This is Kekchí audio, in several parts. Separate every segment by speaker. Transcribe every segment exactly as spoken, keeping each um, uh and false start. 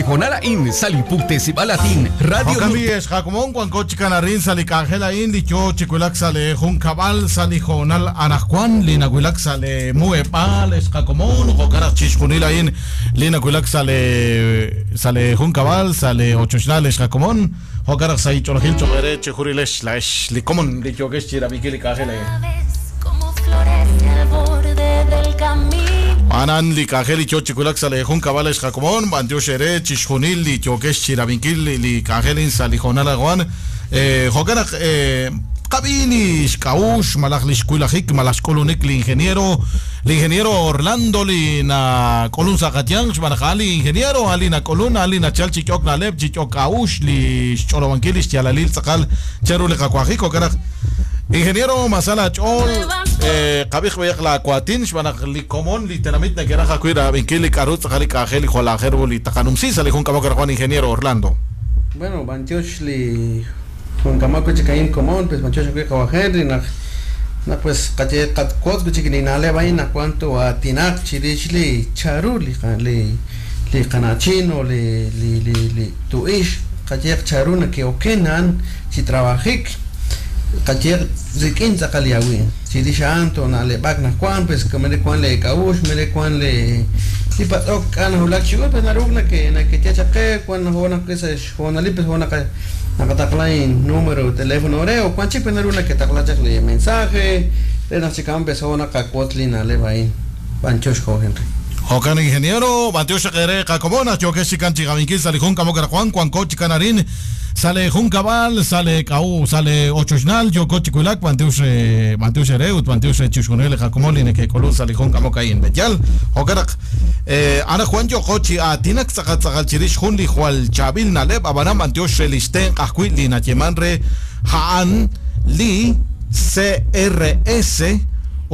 Speaker 1: honal a'in sa' li puktesib'al latin Radio
Speaker 2: Jo'kan bi xqakomon wanko chikanarin sa' li k'anjel a'in li yo chiwilak sa' li junkab'al sa' li jonal anajwan li nawilak sa' li muheb'aal xqakomon jo'kan naq chixjunil a'in li nawilak sa' li sa' li junkab'al sa' li ochoxnal xqakomon jo'kan naq sa' ich'olojil cho'q chijurilex la ex li komon li yokex chirab'inkil li k'anjel a'in. Anan li k'anjel li yo chiwilak sa' li junkab'al xqakomon b'antiox ere chixjunil li yokex chirab'inkil li k'anjel sa' li jonal awan jo'kan naq qab'i li xk'a'ux malaj li xkuilajik malaj xk'ulunik li ingeniero li ingeniero Orlando li na k'ulun sa' qatyanq xb'aan naq li ingeniero ali na k'ulun ali nachal chich'ok na'leb' chich'ok k'a'ux li xch'olobankil li xyalalil tz'aqal charu li qakuajik jo'kan naq ingeniero masala ch'ol qab'ij b'ayaq la kuatin xb'aan naq li komon li tenamit nakeraj ajwi' rab'inkil li k'aru tz'aqal li k'anjel li jwal aajel ru li taqanumsi sa' li jun k'amok Juan ingeniero Orlando.
Speaker 3: Bueno, b'antiox li jun k'amok chikayin komon pues b'antiox ajwi' qawa Henry naq naq pues qaye qatkuotz chikininaleb' ayin naq cuanto atinaq chirix li charu li li li qanachino li li li li tu'ix qaye charu nake'okenan chi trabajik qaye rikin tz'aqal yawi chirix anto naleb'ak najkuan pues mere kuan le k'a'ux mere kuan le li patz'ok k'an julak chiwach pues naruk nake nakechachaqe kuan najona sa xjonalil pues jona naqataqlain número teléfono re o kuan chik pues naruk naketaqlachaq li mensaje re naq chikan pues jona qakuotz li naleb' ayin b'antiox jo Henry.
Speaker 2: Jo'kan ingeniero b'antiox ere qakomon yokex chikan chiqabinkil sa' li jun k'amok Juan kuanko chikanarin sale junkab'al sale k'a'u sale ochoxnal yoko chiwilak b'antiox b'antiox ere ut b'antiox chixjunil li qakomon li neke'k'ulun sa' li jun k'amok a'in b'eyal jo'kan naq ana Juan yoko chi aatinak tz'aqal tz'aqal chirix jun li jwal chaab'il na'leb' ab'anan b'antiox re li xtenq' ajwi' li nayeman re ja'an li C R S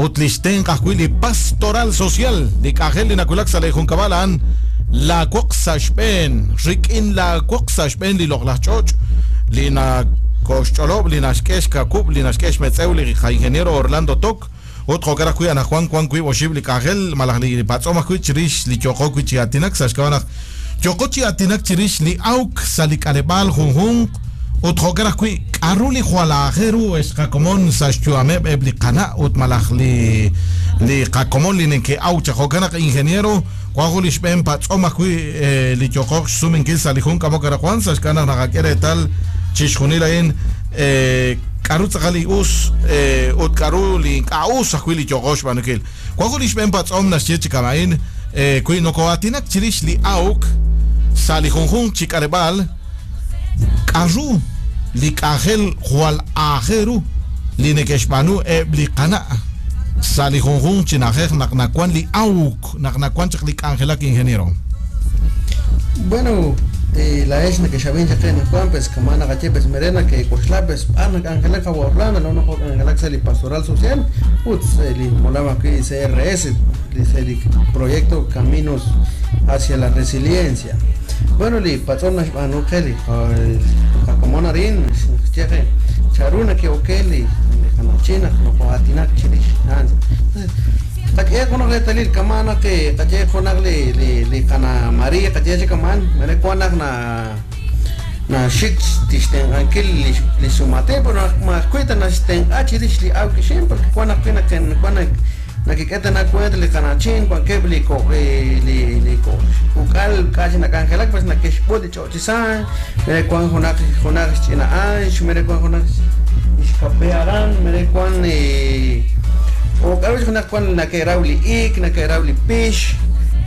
Speaker 2: ut li xtenq' ajwi' li pastoral social li k'anjel li nawilak sa' li junkab'al a'an la woq sa' xb'een rik'in la woq sa' xb'een li loq'laj ch'och' li nakoxch'olob' li naxk'e xkakub' li naxk'e xmetz'ew li ingeniero Orlando Tok ut jo'kan ajwi' anajwan wan wiib' oxib' li k'anjel malaj li patz'om ajwi' chirix li yoqo wi' chi aatinak sa' xk'ab'a' naq yoqo chi aatinak chirix li awk sa' li k'aleb'aal junjunq ut jo'kan ajwi' k'aru li jwal aajel ru xqakomon sa' xyu'ameb' eb' li qana' ut malaj li li qakomon li neke'aw chaq jo'kan naq ingeniero wanjo li xb'een patz'om ajwi' li yoqoq xsumenkil sa' li jun k'amok Juan sa' xk'ab'a' naq naqak'e reetal chixjunil a'in k'aru tz'aqal li us ut k'aru li ink'a' us ajwi' li yoqoq xb'aanunkil wanjo li xb'een patz'om naxye chi kama'in wi noko'aatinak chirix li awk sa' li junjunq chi k'aleb'aal k'aru li k'anjel jwal aajel ru li neke'xb'aanu eb' li qana' sa' li junjunq chi na'ajej naq nawan li awk naq nawan chaq li k'anjelak ingeniero.
Speaker 3: Bueno, eh, la ex nakexab'in chaq najwan pues kama naqaye pues mere nake'k'oxla pues b'ar nak'anjelak qawa Orlando no nak'anjelak sa' li pastoral social ut li molam ajwi' C R S li proyecto Caminos hacia la Resiliencia. Bueno, li patz'om naxb'aanu qe li qakomon arin xyeje charu nake'oke li qanachina noko'atinak chirix entonces qak'e junaq reetalil kama naq qaye junaq li li li qana María qaye chikaman mere kuan naq na na xik tixtenq'ankil li li sumate pero majkuita naxtenq'a chirix li awk ixim porque kuan ajwi' kuan nakik'eta nakuent li qanachin kuan keb' li ko li li ko uk'al k'ax nak'anjelak pues nakexb'ut li ch'o'chisan mere kuan junaq junaq xch'ina'an mere kuan junaq ixkape aran mere kuan o k'aru junaq kuan nakeraw li ik nakeraw li pix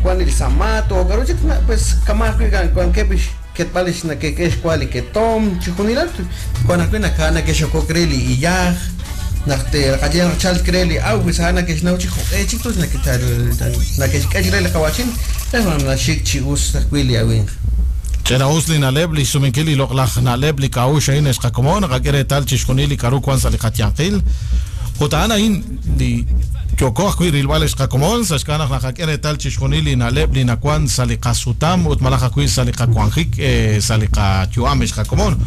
Speaker 3: kuan li samato o k'aru chik pues kama ajwi' kuan keb' ketb'al ix nakek'ex kual li ketom chijunilal kuan ajwi' naka nakexokok re li iyaj naq te qaye chal kre li aw pues ana kexnaw chi joq'e chik tus naketal nakexk'ex re li qawachin es naxik chi us ajwi' li awinq.
Speaker 2: Ch'ina us li na'leb' li xsumenkil li loq'laj na'leb' li k'a'ux a'in xqakomon naqak'e reetal chixjunil li k'aru wan sa' li qatyanqil ut a'an a'in li yoko ajwi' rilb'al xqakomon sa' xk'ab'a' naq naqak'e reetal chixjunil li na'leb' li nawan sa' li qasutam ut malaj ajwi' sa' li qawanjik sa' li qayu'am xqakomon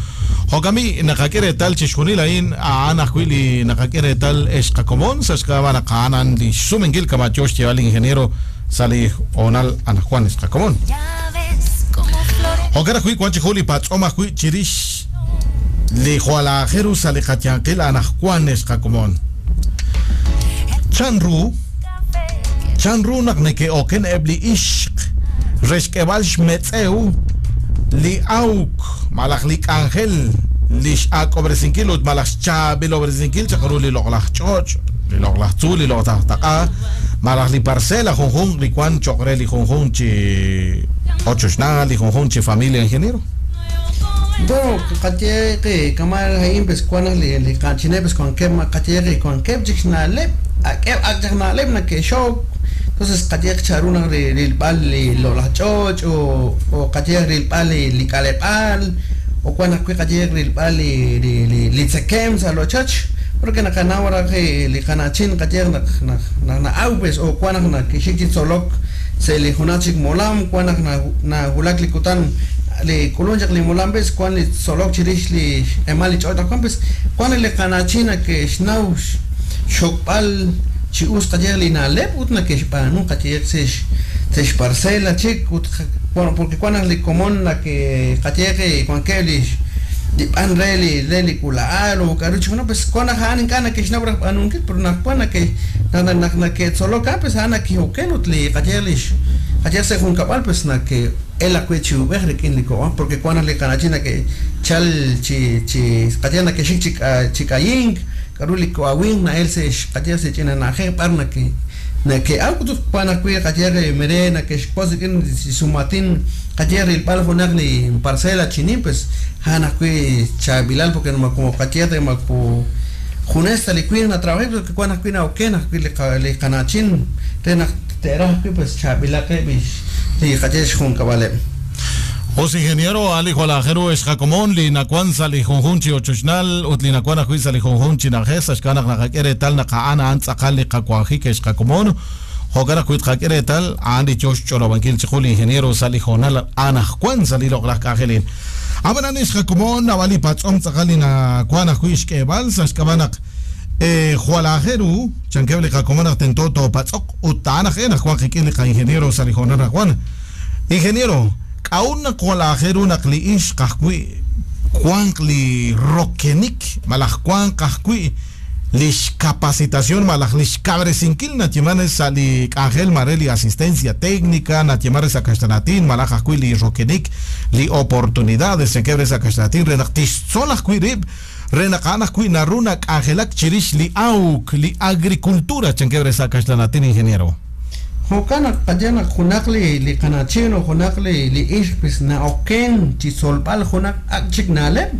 Speaker 2: jo'kan b'i naqak'e reetal chixjunil a'in a'an ajwi' li naqak'e reetal xqakomon sa' xk'ab'a' naq a'an li xsumenkil kama yo xyeeb'al li ingeniero sa' li honal anajwan xqakomon. Jo'kan ajwi' wan chi jun li patz'om ajwi' chirix li jwal aajel ru sa' li qayanqil anaqwan ex qakomon. Chanru chanru naq neke'oken eb' li ixq re xk'eb'al xmetz'ew li awk malaj li k'anjel li x'ak'ob'resinkil ut malaj xchaab'ilob'resinkil chaq ru li loq'laj ch'och', li loq'laj tzuul, li loq'laj taq'a, malaj li parcela junjunq li wan cho'q re li junjunq chi ochoxnal, li junjunq chi familia, ingeniero.
Speaker 3: Bueno, qaye que kamal hain pues cuando li li qachine pues con que qaye que con que chixnaleb ak'eb ak'naleb na que show. Entonces qaye charuna ril bal li lo la choch o o qaye ril bal li kalepal o cuando qaye ril bal li li li tsekem sa lo choch porque na kanawara que li kanachin qaye na na na au pues o cuando na que xik solok se li junachik molam cuando na na hulak li kutan li kulunchak li molam pues cuando li solok chirix li emal li ch'ota pues cuando li kanachina que xnaw xokb'al chi us qaye li naleb ut na que xb'anu qaye sex sex parcela chik ut bueno porque cuando li komon na que qaye que cuando que li li b'an re li re li kulaal o karuch bueno pues cuando jan inkana que xnaw b'anun pero na cuando que na na na que soloka pues ana que oken ut li qaye li qaye se junkab'al pues na que el akwe chi ub'ej rik'in li ko'an porque cuando li kanachina que chal chi chi qaye na que xik chik chikayink karu li koawin na el se qaye se china na je par na que na que algo tu cuando kwi qaye mere na que xpos rik'in sumatin qaye ril pal junaq li parcela chinin pues jana kwi chabilal porque no como qaye de maku junesta li kwi na trabajo porque cuando kwi na oken kwi li li kanachin te na tera kwi pues chabila que bish li qaye xjunkab'aleb.
Speaker 2: Os ingeniero ali jwalajero ex jacomón li nakuan sa li junjun chi ochoxnal ut li nakuan ajwi' sa li junjun chi najej sa xkanaq naqak'e reetal naq a'an a'an tz'aqal li qawanjik ex jacomón jo'kan ajwi' tqak'e reetal a'an li yox xch'olob'ankil chi jun li ingeniero sa li jonal anajwan sa li loq'laj k'anjelil. Ab'anan ex jacomón nab'al li patz'om tz'aqal li nakuan ajwi' xk'eeb'al sa xk'ab'a naq jwalajero chankeb' li jacomón naq tento toopatz'oq ut ta'an aj'e najwan qik'in li qa'ingeniero sa li jonal najwan. Ingeniero, aún naq jwalajero naq li ixq ajwi' wanq li rokenik malaj wanq ajwi' li xcapacitación malaj li xkabresinkil natieman sa li k'anjel mare li asistencia técnica natieman sa kaxtanatin malaj ajwi' li rokenik li oportunidades chankeb' sa kaxtanatin re naq tixtzol ajwi' rib' re naq a'an ajwi' naru nak'anjelak chirix li awk li agricultura chankeb' sa kaxtanatin, ingeniero.
Speaker 3: Jo'kan naq qaye naq junaq li li kanachin o junaq li li ixq pues na oken chi solb'al junaq ak chik naleb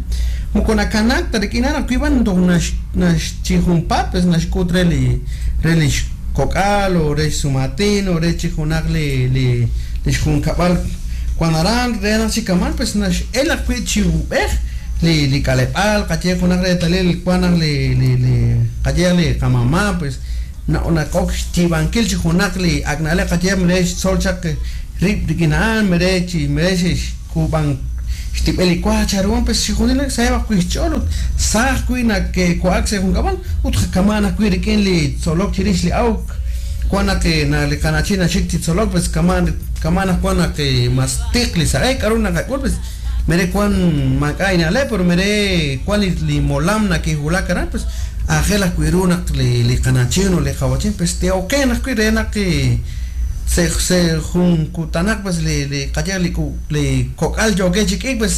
Speaker 3: moko nakanak ta rik'in naq kwiban toj nax nax chi junpat pues naxk'ut re li re li xkok'al o re xsumatin o re chi junaq li li li xjunkab'al cuando aran re naq chikaman pues nax el ajwi' chi ub'ej li li kalep'al qaye junaq reetalil cuando li li li qaye li qamama pues na una kok xtibankil chi junaq li aknale qaye mere xtzol chaq rib rik'in a'an mere chi mere xk'ub'an xtib'el li kuaj charuwan pues chi junil saheb ajwi' xch'ool ut sa ajwi' naq kuak sa junkab'al ut kaman ajwi' rik'in li tzolok chirix li awk cuando que na li kanachin naxik chi tzolok pues kaman kaman ajwan naq mas tiq li sa'ek k'aru naqak'ul pues mere kuan mak'a inaleb pero mere kuan li molam nakijulak aran pues ajel ajwi' ru naq li li kanachin o li qawachin pues te oken ajwi' re naq se se junkutanak pues li li qaye li li kok'al yoke chik'ik pues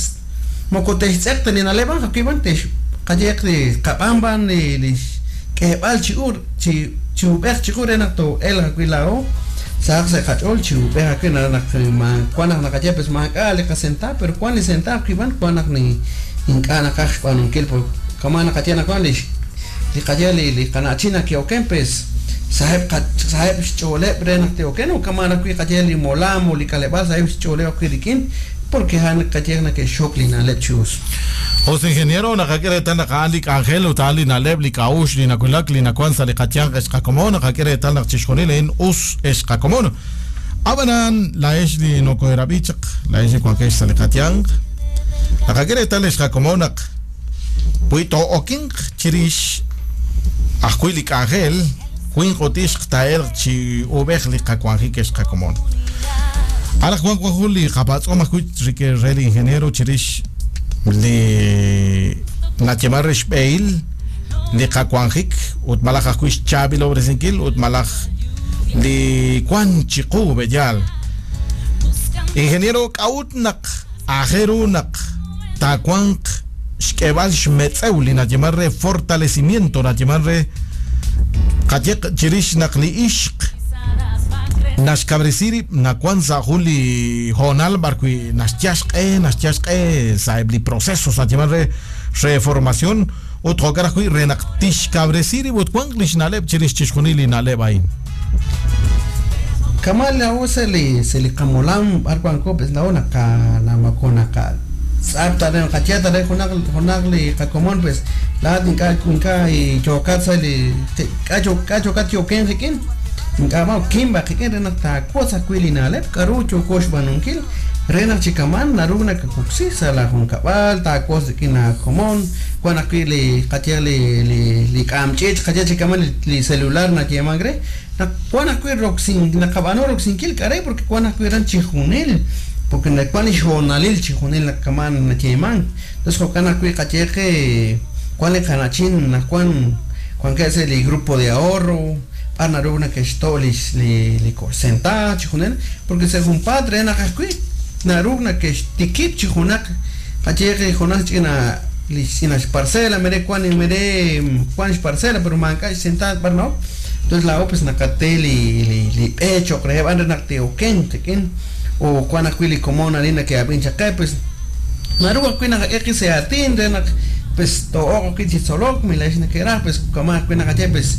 Speaker 3: moko textz'eq ta ninaleb ajwi' tex qaye li qab'anb'an li li k'eeb'al chi ur chi chi ub'ej chi ur re naq to el ajwi' la'o saq se qach'ool chi ub'ej ajwi' naq ma kuan naq naqaye pues mak'a li qasenta pero kuan li senta ajwi' b'an kuan naq ni ink'a' naqaj xb'aanunkil por kaman naqaye naq kuan li li qaye li li kanachina que oken pues saheb saheb xch'ooleb re naq te oken o kaman ajwi' qaye li molam o li kaleb'al saheb xch'ooleb ajwi' rik'in porque han qaye naq xok li naleb chi us.
Speaker 2: Os ingeniero naqak'e reetal naq a'an li k'anjel ut a'an li naleb li k'a'uxl li nakulak li nakuan sa li qatyanq ex qakomon naqak'e reetal naq chixjunil a'in us ex qakomon. Ab'anan la'ex li nokoherab'i chaq la'ex li wankex sa li qatyanq naqak'e reetal ex qakomon naq wi to'okinq chirix ajwi' li k'anjel winq ut ixq ta'elq chi ub'ej li qawanjik ex qakomon. Anaqwan wan jun li qapatz'om ajwi' rik'in re li ingeniero chirix li nayeeman re xb'ehil li qawanjik ut malaj ajwi' xchaab'ilob'resinkil ut malaj li wan chiqu b'eyal. Ingeniero, k'a'ut naq ajeru naq taawanq xk'eb'al xmetz'ew li nayeeman re fortalecimiento nayeeman re qayeq chirix naq li ixq naxkab'resi rib' nawan sa' jun li hoonal b'arwi' naxyaxq'e naxyaxq'e sa'eb' li procesos nayeeman re reformación ut jo'kan ajwi' re naq tixkab'resi rib' ut wanq li xna'leb' chirix chixjunil li na'leb' a'in.
Speaker 3: Kamal la'o se li se li qamolam b'ar wanko pues la'o naqa namako naqa tz'ap tare qachia tare junaq junaq li qakomon pues laat ink'a' ink'a' chokat sa li k'a k'a chokat yoken rikin ink'a' ma kimba rikin re naq taawoz ajwi' li na'leb' k'aru choko xb'aanunkil re naq chikaman naru nakakuksi sa la junkab'al taawoz rik'in aakomon wan ajwi' li qachia li li li k'amch'ich qachia chikaman li celular nayeeman re naq wan ajwi' roksin naqab'anu roksinkil k'are porque wan ajwi' ran chijunil porque wan li xhoonalil chijunil nakaman nayeeman entonces jo'kan ajwi' qayeqe wan li qanachin naq wan wan ke li grupo de ahorro b'ar naru nakexto' li li li senta chijunil porque se jun padre naq ajwi' naru nakextikib' chijunaq qayeqe junaq ch'ina li ch'ina xparcela mere wan mere wan xparcela pero manka xsenta b'ar no entonces la pues naqate li li li b'e choq re b'an re naq teoken rikin o wan ajwi' li komon arin ke ab'in chaqe pues naru ajwi' naqak'e se atin re naq pues to'oq ajwi' chi tzolok milax nakeraj pues kama ajwi' naqaye pues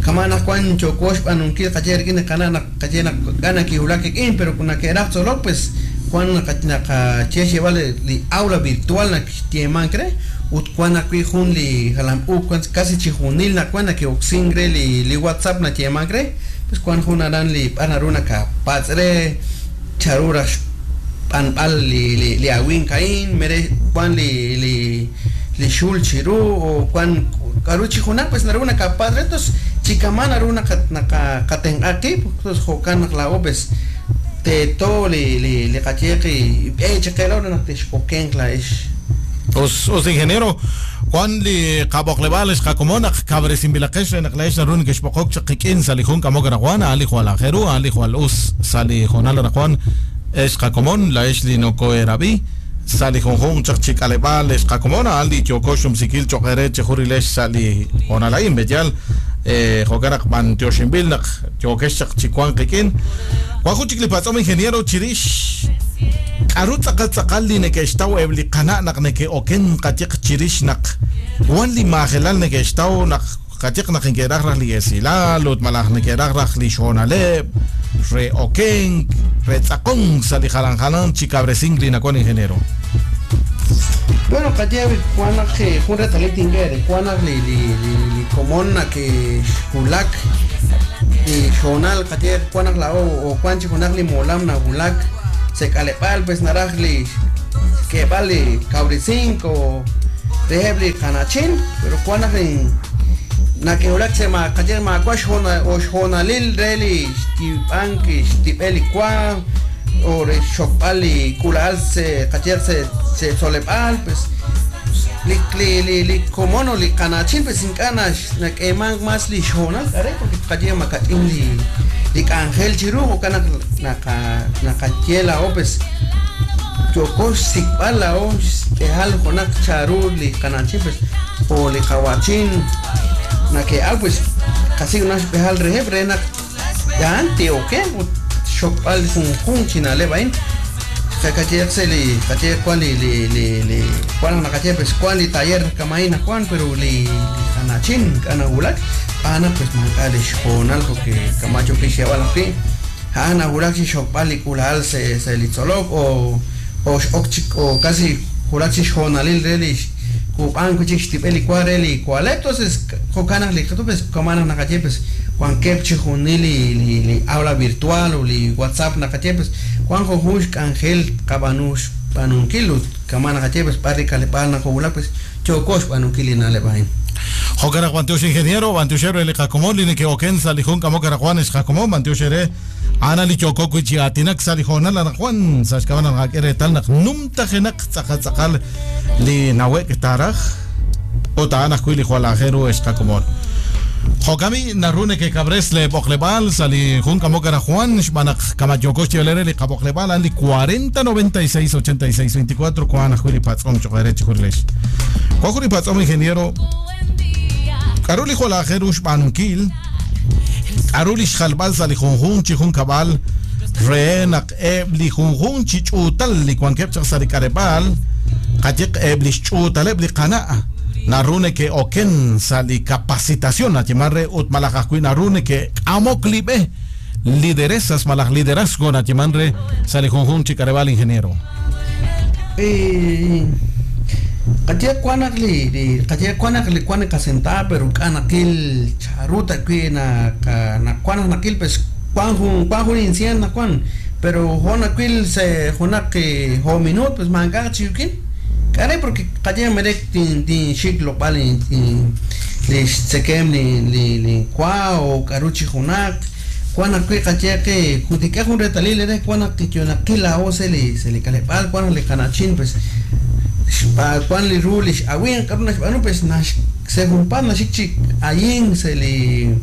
Speaker 3: kama naq wan choko xb'aanunkil qaye rik'in qana' naq qaye naq k'ana kiwulak rik'in pero nakeraj tzolok pues wan naqache xyeb'al li aula virtual naq xyeeman re ut wan ajwi' jun li jalam u wan casi chijunil naq wan nake'oksin re li li WhatsApp nayeeman re pues wan jun aran li b'ar naru nakapatz' re charu raj xb'anb'al li li li awin ka'in mere wan li li li xul chiru o wan k'aru chijunaq pues naru nakapatz' re entonces chikaman naru naqa naqa qatenq'a qib' entonces jo'kan naq la'o pues teto li li li qayeqi b'e chaqela naq tixokenq la'ex.
Speaker 2: Os os ingeniero Juan li qaboqleb'al xqakomon naq kab'resinb'ilaqex re naq la'ex naru nekexb'oqok chaq qik'in sa' li jun k'amok Juan a'an li jwal ajeru a'an li jwal us sa' li jonal Juan ex qakomon la'ex li noko'erab'i sa' li junjunq chaq chik'aleb'al ex qakomon a'an li yoko xumsikil choq ere chejurilex sa' li jonal a'in b'eyal jo'kan naq b'antioxinb'il naq yokex chaq chikuan qik'in wan jun chik li patz'om ingeniero chirix k'aru tz'aqal tz'aqal li neke'xtaw eb' li qana' naq neke'oken qayeq chirix naq wan li maajelal neke'xtaw naq qayeq naq inke'raj raj li esilal ut malaj neke'raj raj li xhoonaleb' re okenk re tz'aqon sa' li jalan jalan chikab'resink li nakon ingeniero.
Speaker 3: Bueno, qaye wan naq jun retalil tink'e wan naq li li li komon naq xwulak li xhoonal qaye wan naq la'o o wan chi junaq li molam nawulak se k'aleb'al pues naraj li xk'eb'al li kawresink o reheb' li qanachin pero wan naq nakewulak se ma qaye ma'wa xhoona o xhoonalil re li xtib'an xtib'el li wa o re xokb'al li k'ula'al se qaye se se tzoleb'al pues li li li li komon o li qanachin pues ink'a' nak'eeman mas li xhoonal k'are porque qaye makach'in li li k'anjel chiru jo'kan naq naqa naqaye la'o pues yoko xsik'b'al la'o xk'ejal junaq charu li qanachin pues o li qawachin nake'al pues qasi una xb'ejal reheb' re naq ya'an ti'oken ut xokb'al junjun chi na'leb' a'in qayeq se li qaye wan li li li li wan naqaye pues wan li taller kama'in wan pero li li qanachin k'anawulak ana pues mank'a li xhoonal porque kamacho kixyeb'al ajwi' ja'an nawulak chi xokb'al li k'ula'al se se li tzolok o o x'ok chik o casi julak chi xhoonalil re li k'ub'an chik xtib'el li wa re li kualeb' entonces jo'kan naq li pues kama naq naqaye pues wankeb' chijunil li li li aula virtual o li WhatsApp naqaye pues wan junjun xk'anjel qab'anu xb'aanunkil ut kama naqaye pues b'ar li k'aleb'aal naqowulak pues yoko xb'aanunkil li na'leb' a'in.
Speaker 2: Jo'kan bantiox ingeniero bantioxero li qakomon li neke'oken sa' li jun k'amok Juan xqakomon bantioxere ana li yoko wi chi aatinak sa' li joonal Juan sa' xk'ab'a' naq reetal naq numtajenaq tz'aqal li nawek taraj ut a'an ajwi' li jwal aajel ru xqakomon. Jokami naru neke'kabres le b'oqleb'aal sa' li jun k'amok Juan xb'aan naq kamayoko xyeelere li qab'oqleb'aal a'an li cuarenta noventa y seis ochenta y seis veinticuatro kuan ajwi' li patz'om cho'q re chijurilex. Kuan jun li patz'om ingeniero k'aru li jwal aajel ru xb'aanunkil k'aru li xjalb'al sa' li junjun chi jun kab'al re naq eb' li junjun chi ch'uutal li wankeb' chaq sa' li k'aleb'aal qayeq eb' li xch'uutaleb' li qana' naru neke'oken sa' li capacitación nayeman re ut malaj ajwi' naru neke'k'amok li b'e lideresas malaj liderazgo nayeman re sa' li junjun chi k'aleb'aal ingeniero.
Speaker 3: Eh Qaye kuanak li li qaye kuanak li kuanak kasenta pero kanakil charuta kwi na na kuanak nakil pues kuan jun kuan jun incien na kuan pero jonakil se jonak ho minut pues manga chiukin kare porque qaye merek tin tin shik lo pali tin li tsekem li li li kwa o karuchi jonak kuanak kwi qaye que jutika jun retalil re kuanak tichonakila o se li se li kalepal kuanak li kanachin pues Juan li rulish awin karuna xb'anu pues nax según pan naxik ayin se li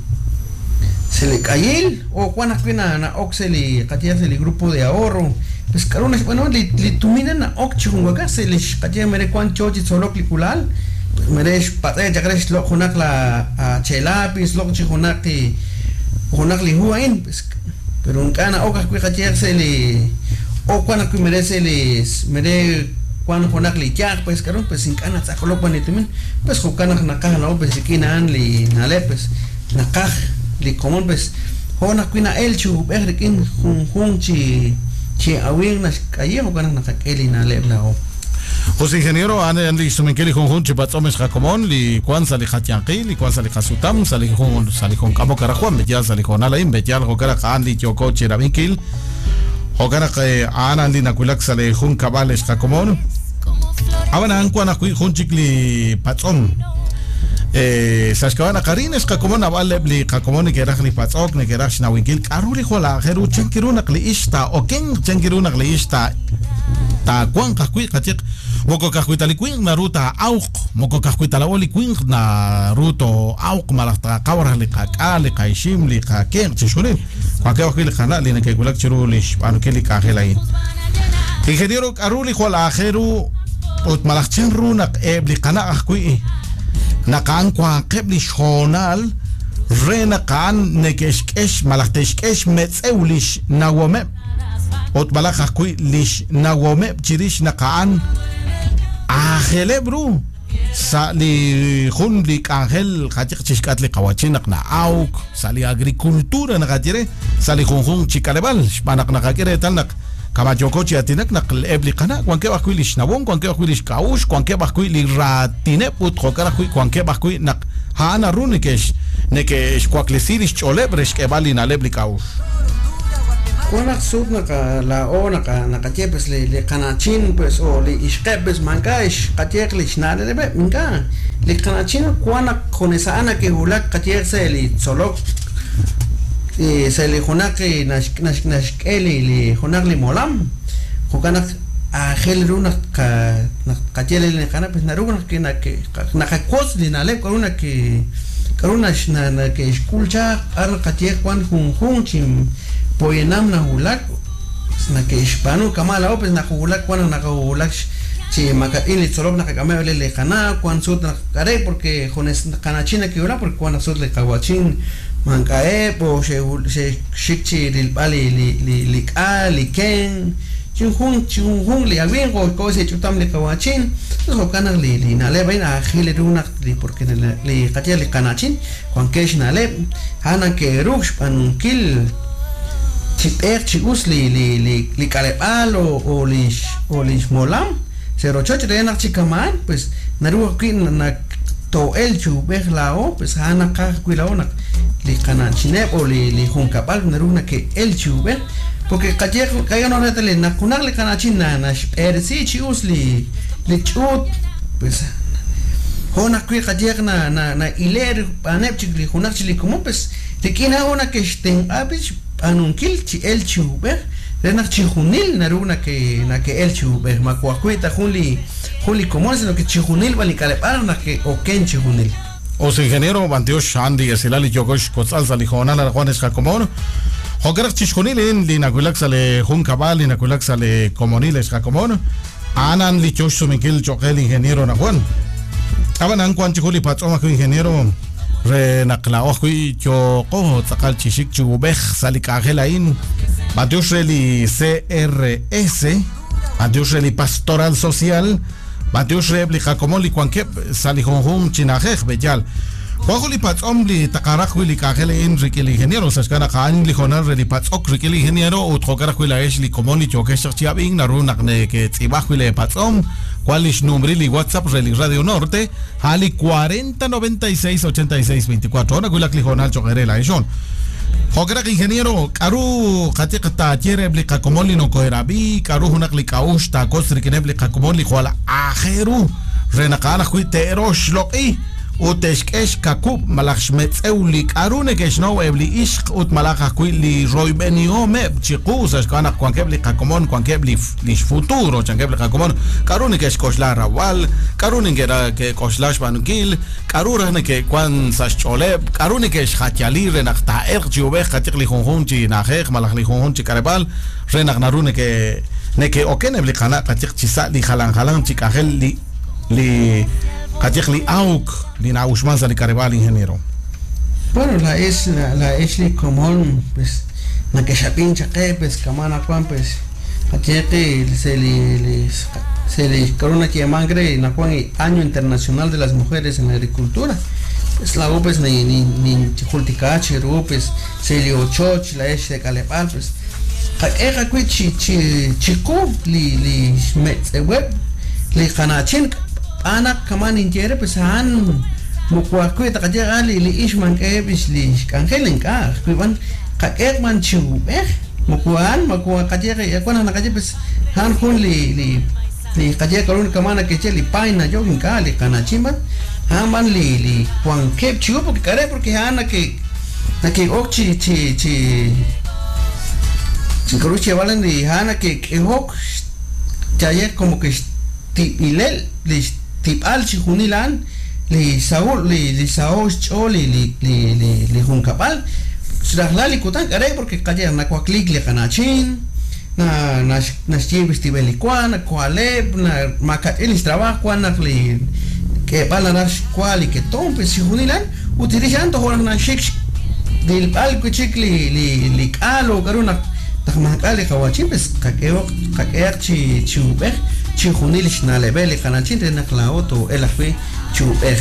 Speaker 3: se le kayil o Juan ajwi' na ok se li qatya se li grupo de ahorro pues karuna xb'anu li li tumina na ok chijunwaka se li qatya mere kuan chochi tzolok li kulal mere xpat'e chaqrex loq junak la chelapis loq chijunak junak li huain pues pero nk'ana ok ajwi' qatya se li o Juan ajwi' mere se li mere Juan junak li yaq pues karun pues ink'ana tz'aqlok wanitumin pues jo'kanaq naqaj na'o pues rik'in li na'leb' pues naqaj li komon pues jo'naq wi' na'el chub'ej rik'in junjun chi chi awin naxk'ayej jo'kanaq naqak'e li na'leb' la'o.
Speaker 2: José ingeniero ane li sumenkil li junjun chi patz'om xqakomon li kuan sa' li qatyanqil li kuan sa' li qasutam sa' li jun sa' li jun k'amok Juan b'eyal sa' li jonal a'in b'eyal jo'kanaq a'an li yoko chirab'inkil jo'kanaq a'an li nakulak sa' li jun kab'al xqakomon. Ab'an kuan ajwi' jun chik li patz'om eh sa' xk'ab'a' naqarin xqakomon ab'al eb' li qakomon neke'raj li patz'ok neke'raj xnawinkil k'aru li jwal aajel ru chan kiru naq li ix taa'oken chan kiru naq li ix ta taawanq ajwi' qayeq moko kajwi' ta li winq naru taa'awq moko kajwi' ta la'o li winq naru to'awq malaj taqawraj li qak'al li qaixim li qakenq chixjunil wankeb' ajwi' li qana' li neke'wulak chiru li xb'aanunkil li k'anjel a'in. Ingeniero k'aru li jwal aajel ru ut malaj chan ru naq eb' li qana' ajwi' naq a'an wanqeb' li xjoonal re naq a'an neke'xk'ex malaj te'xk'ex metz'ew li xnawomeb' ut malaj ajwi' li xnawomeb' chirix naq a'an aajeleb' ru sa' li jun li k'anjel qayeq chixk'at li qawachin naq na'awk sa' li agricultura naqaye re sa' li junjun chi k'aleb'aal xb'aan naq naqak'e reetal naq kamayoko chi atinak naq eb' li qana' wankeb' ajwi' li xnawon wankeb' ajwi' li xk'a'uxl wankeb' ajwi' li raatineb' ut jo'kan ajwi' wankeb' ajwi' naq a'an naru neke'x neke'xwaklesi li xch'ooleb' re xk'eeb'al li na'leb' li k'a'uxl.
Speaker 3: Kuan sut naqa la'o naqa naqaye pues li li qanachin pues o li ixqeb' pues manka ixqayeq li xna'leb' minka li qanachin kuan junesa'an ke'wulak qayeq se li tzolok se li junak nax nax naxk'e li li junak li molam jo'kan naq aajel ru naq naq qaye li qana pues naru naq naqakos li na'leb' k'aru naq k'aru nax nake'xk'ul chaq ar qaye kuan junjun chi poyenam nawulak nake'xb'aanu kama' la'o pues naqawulak kuan naqawulak chi maka'in li tzolok naqak'ameb' li qana' kuan sut naq k'are porque junes qanachin nake'wulak porque kuan sut li qawachin mank'a'eb' o xe'xik chi rilb'al li li li k'a li ken chinjun chinjun li awin o ko se ch'utam li qawachin entonces jo'kan naq li li na'leb' a'in aajel ru naq li porque li qaye li qanachin wankeb' xna'leb' a'an nake'ruuk xb'aanunkil chi b'eeq chi us li li li li k'aleb'aal o o li o li xmolam se rochoch re naq chi kama'an pues naru ajwi' naq to'el chub'ej la'o pues a'an naqaj ajwi' la'o naq li qanachineb' o li li junkab'al naru nake'el chub'ej porque qayeq qaye no retale naq junaq li qanachin na naxb'eresi chi us li li ch'uut pues Jona kwi qayeq na na na iler paneb chik li junaq chi li komon pues rik'in una que xtenq'ab'ich b'anunkil chi el chi ub'ej renaq chi junil naru na que na que el chi ub'ej makuajwi ta jun li jun li komon sino que chi junil b'an li k'aleb'al naq que oken chi junil.
Speaker 2: Os ingeniero Bantiosh Andy Esilali Yokosh Kotzal Salijona la Juan Escacomón. Jokerach Chishjunil Linakulak sale Juncabal, Linakulak sale Comonil Escacomón. Anan Lichosh Suminkil Choquel ingeniero Najuan. Abanan Juan Chijuli Patzoma ingeniero Renaclaoji Choco Tzakal Chishik Chubej Salicagelain. Bantiosh Reli C R S. Bantiosh Reli Pastoral Social. Bantiosh Rebli Jacomoli Juankep Salijonjum Chinajej Beyal. Juanjoli Patzomli Takarajuli Kajele Enrique el ingeniero Sashkana Jan Lijonar Reli Patzok Rique el ingeniero Utjokarajula Eshli Comoli Chokesh Chiabin Narunak que Tzibajule Patzom Cualish Numbrili WhatsApp Reli Radio Norte Ali cuarenta noventa y seis ochenta y seis veinticuatro Ona Kulak Lijonal Chokerela Eshon Jokerak ingeniero Karu Katikta Yerebli Kakomoli no Koerabi Karu Hunakli Kaush Takosrikinebli Kakomoli Juala Ajeru Renakana Juiterosh Loki Utexkex kakub malaj xmetz'ew li k'aru neke'xnow eb li ixq ut malaj ajwi' li royb'enihomeb chiqu sa' xk'ab'a naq wankeb' li qakomon wankeb' li lix futuro chankeb' li qakomon k'aru neke'xk'oxla rawal k'aru neke'k'oxla xb'aanunkil k'aru raj neke'wan sa' xch'ooleb' k'aru neke'xjatiyali re naq taa'elq chi ub'ej qatiq li junjun chi na'ajej malaj li junjun chi k'aleb'aal re naq naru neke neke'oken eb' li qana' qatiq chi sa' li jalan jalan chi k'ajel li li Qatiq li auk li naushman sa li karibal ingeniero.
Speaker 3: Bueno, la es la, la es li común pues na que xapin chaqe pues kamana Juan pues qatiqi se li se li corona que mangre na Juan Año Internacional de las Mujeres en la Agricultura. Pues la pues ni ni ni jultikachi ru pues se li ochoch la es de kalepal pues qaq'eqa kwi chi chi chiku li li xmetz'eweb li qanachin Ana kaman inquiere pues han mukuakuita qatiqa li li ixman k'eb'ix li xk'anjel ink'aj kuib'an qak'eq man chiub'ej mukuan makua qatiqa yakuan naqachi pues han jun li li li qatiqa karun kamana keche li paina yo ink'aj li qanachimba han man li li kuankeb chiu porque kare porque han que que ok chi chi chi chi valen li han que que ok chayer como que tipilel li tipal chijunilan li Saúl li li Saúl choli li li li li juncapal xrajlali kutan kare porque kayer na kuaklik li kanachin na na na xtibelikuan na kualeb na makatil trabajo na li que pala na kuali que tompe chijunilan utilizando joran na xik del palco chik li li li kalo karuna tajmakali kawachin pues kakeo kakeach chi chubej chijunil xnalebel qanachin renaqlaoto el ajwi chubej.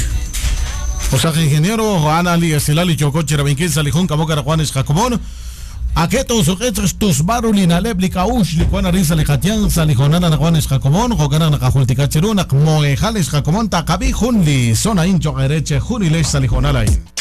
Speaker 2: O sea, ingeniero Ana li Esilali Chocoche Rabinquil Salijun Kamoka Juanes Jacomón Aketo suqetz tusbaru linaleb likaush likuan arisa likatian salijonana Juanes Jacomón Jokana naqajultikacheruna moejales Jacomón taqabi jun li zona incho ereche junilesh salijonalain.